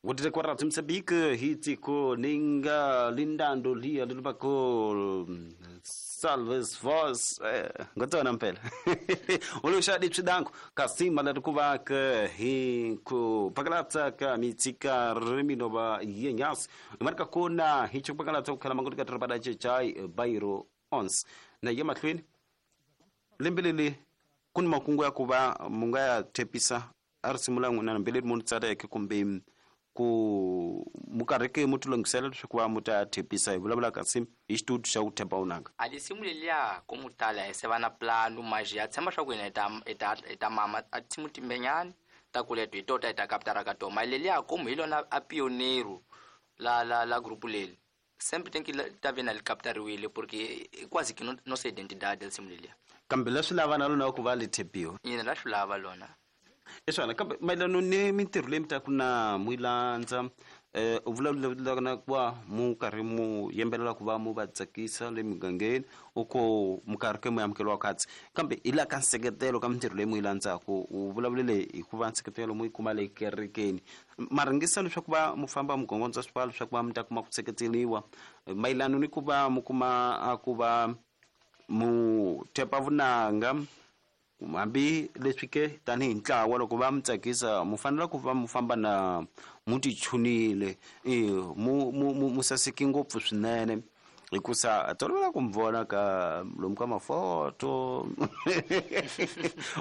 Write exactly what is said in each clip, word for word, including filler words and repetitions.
Wotete kwa Mozambique hitiko ninga lindando lia lilubako salves vos ngotona mpela ulushadi chidanko kasima lerikuvak hi ku pakalatsa ka mitsika riminoba yenyas marka kona hicho pakalatsa kukhala manguti ka trabada chai bairo ons na yemahlweni lembelele kun makungu ya kuva munga ya tepisa arisimula n'wina mbelele munhu tsareke kumbe ku mukareke mutulongisela leswaku va muta thepisa hi vulavula kasi hi xitutu xa ku thepa unanga a lisimu leliya ko mutala hi se va na planu maji ya tshemba swa ku hina hi ta hi ta hi ta mama a tinsimu timbenyani ta kuleto hi tota hi ta kapitara ka tona mali leliya komu hi lona a pioneiro la la la grupo leli sempre tem que ta ve na li captariwile porque é quase que nossa identidade lisimu leliya kambe leswi lava na lona ku va li thepiwa yena la swi lava lona eswana kambe mayelana ni mintirho leyi mi taku na mu yi landza eh u vulavula na ku va mu karhi mu yimbelela ku va mu va tsakisa le mugangeni u ko mu karhi ke mu amukeliwa khatsi kambe hi la ka nseketelo ka mintirho leyi mu yi landzaku u vulavulele hi ku va nseketelo mu yi kuma le kerekeni ma ringisa leswaku va mu famba mu gongondza swipfalo leswaku va mi ta kuma ku seketeriwa mayelana ni ku va mu kuma a ku va mu thepa vunanga hambi leswi ke tanihi ntlawa loko va mi tsakisa mu fanele ku va mu famba na mu tichunile e mu mu mu saseki ngopfu swinene hikusa tolovela ku mi vona ka lomu ka mafoto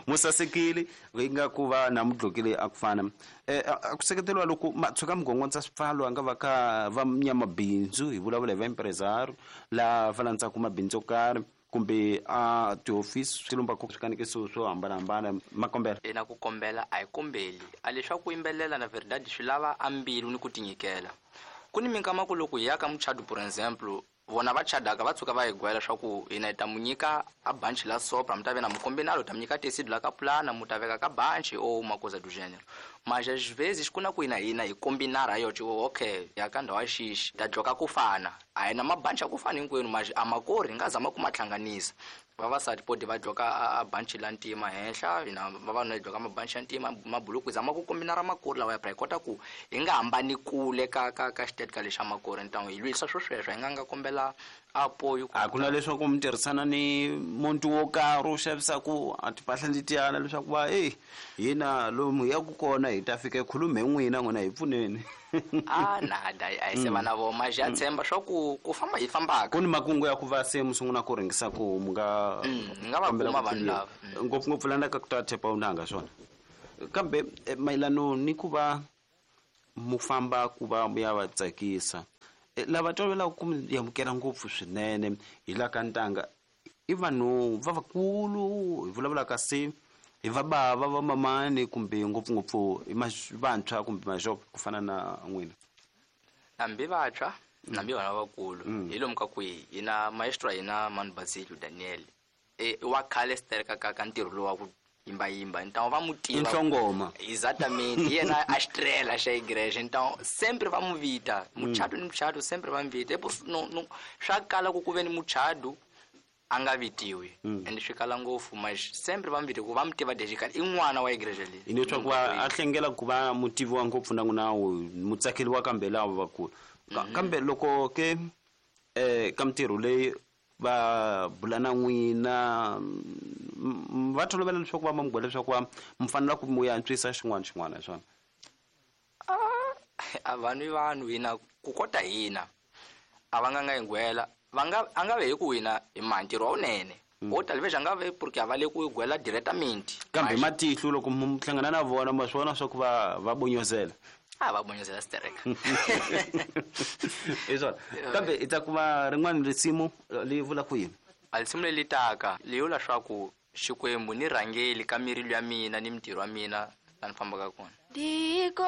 mu sasekile yi nga ku va na mudlokile a ku fana a ku seketeriwa loko ma tshuka mi gongondza swipfalo a nga va ka va nyamabindzu hi vulavula hi va empresario la va landzaku mabindzu yo karhi kumbe a tihofisi swi lomba ku swikanekiso swo hambanahambana makombela ina ku kombela a hi kombeli a leswaku yimbelela na verdade swi lava a mbilu ni ku tinyikela ku ni minkama ku loko hi ya ka muchado por exemple vona va chadaka va tshuka va hi gwela swa ku hina hi ta mu nyika a banchi la sopra mi ta ve na mukombinalo ta mu nyika tesido la ka pulana mu ta veka ka banchi ou uma coisa do gênero mas às vezes ku na ku hina hina hi kombinara yo tipo okay ya ka ndhawu ya xixi ta dloka ku fana a hi na mabanchi ya ku fana hinkwenu mas a makori hi nga zama ku ma hlanganisa vavasati podi va dloka a banchi la ntima henhla hina vavanuna hi dloka mabanchi ya ntima mabuluku hi zama ku kombinara makori lawa ya pra hi kota ku hi nga hambani kule ka ka ka xitetika lexa makori ntangu hi lwisa swo sweswo hi nga nga kombela apoyo a ku na leswaku mi tirhisana ni muntu wo karhi u xavisaku a timpahla letiyana leswaku va eyi hina lomu hi yaku kona hi ta fika hi khulume hi n'wina n'wina hi pfuneni a nada a hi se va na vona mas ya tshemba swa ku ku famba hi fambaka ku ni makungu ya ku va se mu sungula ku rhengisa ku mu nga hi nga va kuma vanhu lava ngopfungopfu la ka ku ta thepa unanga swona kambe mayelano ni ku va mu famba ku va mu ya va tsakisa lava tolovelaku ku mi amukela ngopfu swinene hi la ka ntanga i vanhu va vakulu hi vulavulaka se hi va bava va mamani kumbe ngopfungopfu i vantshwa kumbe maxopo ku fana na n'wina hambi vantshwa hambi vana vakulu hi lomu ka kwihi hina maestro hina Manu Basilio Daniel e wa khale stereka ka ka ntirho lowu wa ku yimbayimba então va mu tiva nhlongoma exatamente hi yena a estrela xa igreja então sempre va mu vita muchato ni muchato sempre va mu vita no no swa kala ku ku ve ni muchato a nga vitiwi ende swi kala ngopfu mas sempre va mu vita ku va mu tiva desde khale i n'wana wa igreja leyi hi leswaku va a hlengela ku va mutivi wa ngopfu na n'wina mutsakeli wa kambe lava vakulu kambe loko ke eh ka mintirho leyi va bula na n'wina va tolovela leswaku va ma mugwela leswaku va mi fanela ku mu antswisa xin'wana xin'wana hi swona a vanhu i vanhu hina ku kota hina a va nga nga hi gwela va nga a nga ve hi ku hina hi ma ntirho wa wunene wo talvez a nga ve porque a va le ku gwela directamente kambe matihlo loko mu hlangana na vona ma swi vona swa ku va va bonyozela a va bonyozela stereka hi swona kambe hi ta kuma rin'wana risimu li vula ku yini a risimu leri taka li vula swa ku Xikwembu ni rhangeli ka mirilo ya mina ni mintirho ya mina la ni fambaka kona.